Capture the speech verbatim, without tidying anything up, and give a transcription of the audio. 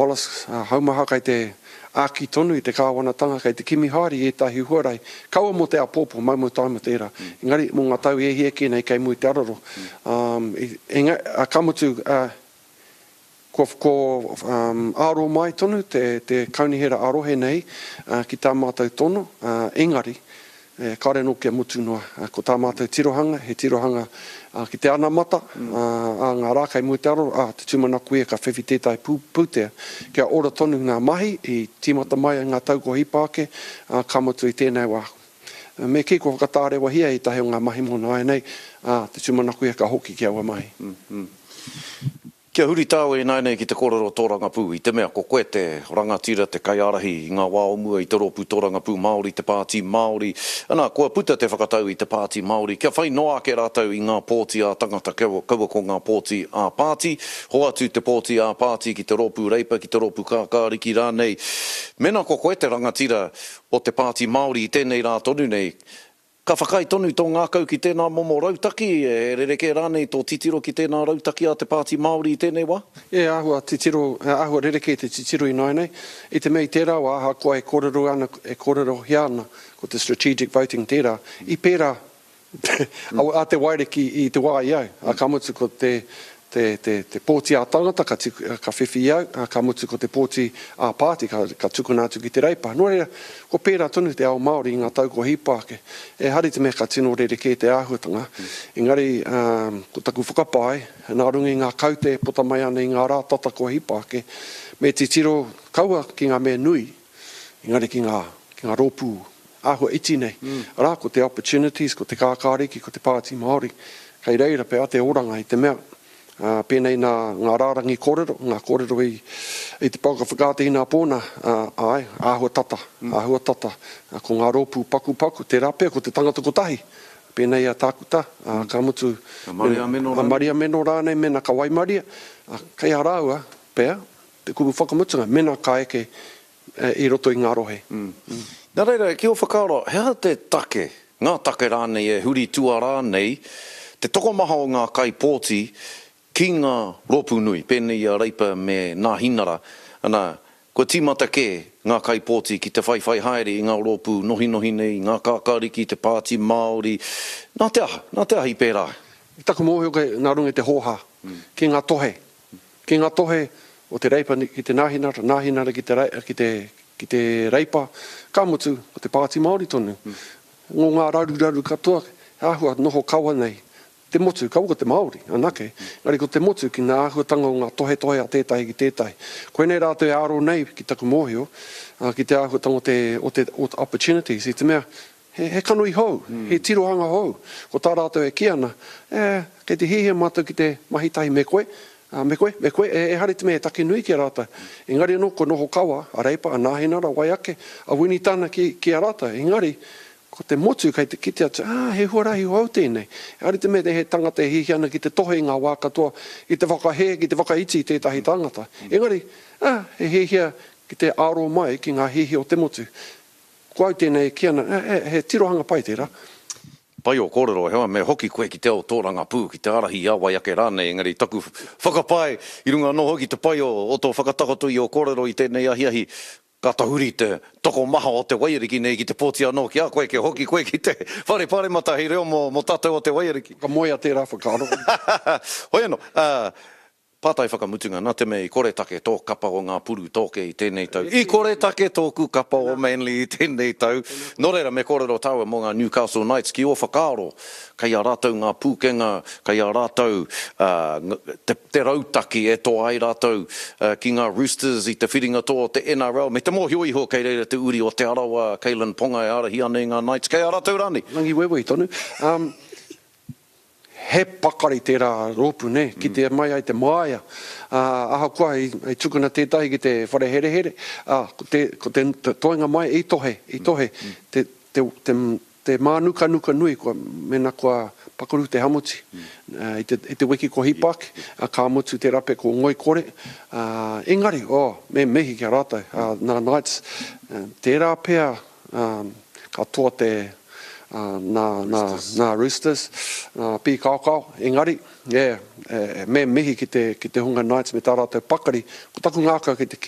Wallace Haumaha kei te āki tonu i te kāwanatanga kei te kimi haere i ētahi huarahi, kaua mō te āpōpō, mau mau taima tērā, engari mō ngā tau e hia kē nei kei mua i te araro. Engari, ka mutu, kua aro mai tonu te kaunihera ā-rohe nei ki tā mātou tono, engari, Kāore anō kia mutu noa. Ko tā mātou tirohanga, he tirohanga ki te anamata, ā ngā rā kei mua i te aroro, ā, te tūmanako ia ka whiwhi tētahi pūtea kia ora tonu ngā mahi i tīmata mai ai ngā tau kua hipa ake, ā, ka mutu i tēnei wā. Me kī kua whakatārewahia ētahi o ngā mahi mō nāianei, ā, te tūmanako ia ka hoki ki aua mahi. Kia huri tāua ināianei ki te kōrero tōrangapū, i te mea ko koe te rangatira, te kaiārahi i ngā wā o mua i te Rōpū Tōrangapū Māori, te Pāti Māori. Ana, kua puta te whakatau i te Pāti Māori kia whai noa ake rātou i ngā pōti ā-tangata, kaua ko ngā pōti ā-pāti. Hoatu te pōti ā-pāti ki te Rōpū Reipa, ki te Rōpū Kākāriki rānei. Mēnā ko koe te rangatira o te Pāti Māori i tēnei rā tonu nei, Ka whakaae tonu tō ngākau ki tēnā momo rautaki, he rerekē rānei tō titiro ki tēnā rautaki a te Pāti Māori i tēnei wā? E āhua titiro, e āhua rerekē te titiro ināianei, i te mea i tērā wā ahakoa e kōrero ana, e kōrerohia ana ko te strategic voting tērā, i pērā a Te Wairiki i te wā i au, ka mutu ko te te, te, te pōti ā-tangata ka, ka whiwhi i au, ka mutu ko te pōti ā-pāti ka, ka tukuna atu ki te Reipa. Nō reira, kua pērā tonu te ao Māori i ngā tau kua hipa ake. Ehara i te mea ka tino rerekē te āhuatanga, engari ko taku whakapae, nā runga i ngā kaute e puta mai ana i ngā rā tata kua hipa ake, me titiro kaua ki ngā mea nui, engari ki ngā, ki ngā rōpū āhua iti nei. Arā, ko te Opportunities, ko te Kākāriki, ko te Pāti Māori, kei reira pea te oranga i te mea, ā, pēnei nā ngā rārangi kōrero, ngā kōrero i, i te pouaka whakaata inapō nā, ā, āe, āhua tata, āhua tata, ko ngā rōpū pakupaku, tērā pea ko te tangata kotahi, pēnei a Tākuta, ā, ka mutu, A Maria Meno a rānei. Maria Meno rānei mēnā ka waimaria, ā, kei a rāua pea te kupu whakamutunga, mēnā ka eke i roto i ngā rohe. Nā reira, ki ō whakaaro, he aha te take, ngā take rānei e huri tuarā nei te tokomaha o ngā kaipōti ki ngā rōpū nui, pēnei i a Reipa me Nāhinara, ana, kua tīmata kē ngā kaipōti ki te whaiwhai haere i ngā rōpū nohinohi nei, i ngā kākāriki, te Pāti Māori, nā te aha, nā te aha i pērā ai? I taku mōhio kei nā runga i te hōhā, ki ngā tohe, ki ngā tohe o te Reipa ki te Nāhinara, Nāhinara ki te, ki te, ki te Reipa, ka mutu, ko te Pāti Māori tonu. Ngō ngā raruraru katoa, he āhua noho kawa nei te motu, kaua ko te Māori anake, engari ko te motu ki ngā āhuatanga o ngā tohetohe a tētahi ki tētahi. Koinei rātou e aro nei, ki taku mōhio, ki te āhuatanga o te, o te, o te opportunities, i te mea, he, he kanohi hou, he tirohanga hou. Ko tā rātou e kī ana, e, kei te hiahia mātou ki te mahi tahi me koe, ā, me koe, me koe, e, ehara i te mea he take nui ki a rātou. Engari anō, kua noho kawa a Reipa, a Nāhinara, wai ake, a Winitana ki, ki a rātou. Engari, ko te motu kei te kite atu, ā, he huarahi hou tēnei. Ehara i te mea he tangata e hiahia ana ki te tohe i ngā wā katoa, ki te whakahē, ki te whakaiti i tētahi tangata. Engari, ā, he hiahia ki te aro mai ki ngā hiahia o te motu. Ko au tēnei e kī ana, ā, he tirohanga pai tērā. Pai ō kōrero, heoi me hoki koe ki te ao tōrangapū, ki te ārahi i a wai ake rānei, engari taku whakapae i runga anō hoki te pai o tō whakatakoto i ō kōrero i tēnei ahiahi, ka tahuri te tokomaha o te waiariki nei ki te pōti anō ki a koe, kia hoki koe ki te whare paremata hei reo mō tātou o te waiariki. Whakamoea tērā whakaaro. Hoi anō, pātai whakamutunga, nā te mea i koretake tō kapa o ngā puru tōke i tēnei tau, i koretake tōku kapa o Manly i tēnei tau, nō reira me kōrero tāua mō ngā Newcastle Knights, ki ō whakaaro, kei a rātou ngā pūkenga, kei a rātou te, te rautaki e toa ai rātou ki ngā Roosters i te whiringa toa o te N R L, me te mōhio iho kei reira te uri o Te Arawa, Kalyn Ponga e ārahi ana i ngā Knights, kei a rātou rānei? Rangiwewehi tonu. Um, He pakari tērā rōpū, nē, kitea mai ai te māia. Ā, ahakoa i, i tukuna tētahi ki te whare herehere, ā, ko te, ko te, te toenga mai i tohe, i tohe, te, te, te, te mānukanuka nui kua, mēnā kua pakaru te hamuti, ā, i te, i te wiki kua hipa ake, ā, ka mutu te rape ko ngoikore, ā, engari, oh, me mihi ki a rātou, ā, nā Knights, tērā pea, ā, ka toa te, nā, nā, nā Roosters, nā Pīkaokao, engari, yeah, me mihi ki te, ki te hunga Knights me tā rātou pakari, ko taku ngākau kei te kī,